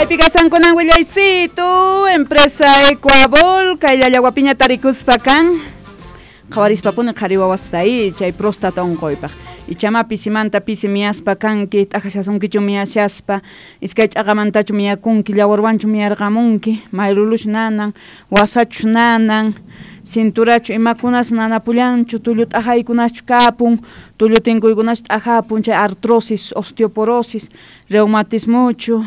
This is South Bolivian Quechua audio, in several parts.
Kaypi kasankunan willaysitu, empresa Ecuabol, kay llallawapiña tarikuspa kan. Qhawarispapuni qhari wawasta i chay próstata unquypaq. Ichama pisimanta pisi miyaspa kanki, t'akashasunkichu miyashaspa, iskay ch'aqamantachu miyakunki, llawarwanchu miyarqamunki, mayluluchu nanan, wasachu nanan, cinturachu imakunas nanapullanchu, tullu t'ajaykunaschu kapun, tullu tinkuykunachu t'ajapun, chay artrosis, osteoporosis, reumatismuchu,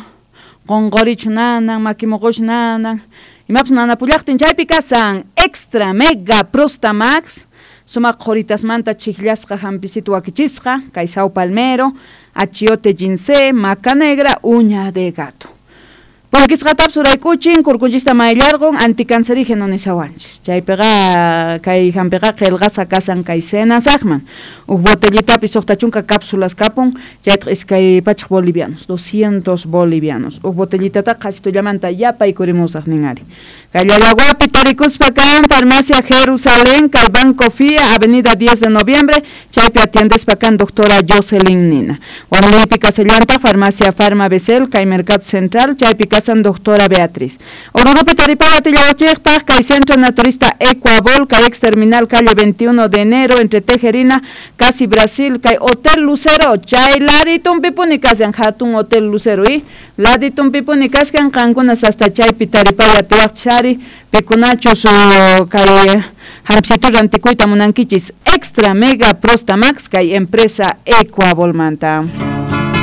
qonqorichu nanan, maki moqochu nanan, imapas nanapullaqtin chaypi kasan Extra Mega Prostamax, sumaq qhoritasmanta chijllasqa hampisitu wakichisqa, kay Sao Palmero, achiote ginseng, maca negra, uña de gato. Punkisqatapis uraykuchin, kurkunchista mayllarqun, anticancerígeno nishawanchis. Chaypiqa kay hampiqa qillqasqa kasan kay senasaqman. Huk botellitapi 60 cápsulas kapun, chaytaq 200 bolivianos, 200 bolivianos. Huk botellitataqa qhasitullamanta yapaykurimusaq nin ari. Kay Llallagüapi tarikuspa kan Farmacia Jerusalén, kay Banco Fia, Avenida 10 de Noviembre, chaypi atiendespa kan doctora Jocelyn Nina. Huanunipi kasallantaq Farmacia Farma Becel, kay Mercado Central, chaypi kasan doctora Beatriz. Oruropi taripaya tillawachiyqtaq kay Centro Naturista Ecuabol, kay ex terminal calle 21 de enero, entre Tejerina, casi Brasil, kay Hotel Lucero, chay laditunpipuni kashan hatun Hotel Lucero, y laditunpipuni kashan qankunas hasta chaypi taripaya atiwaqchis ari, pikunachus kay hampisitu rantikuyta munankichis Extra Mega Prostamax kay empresa Ecuabolmanta.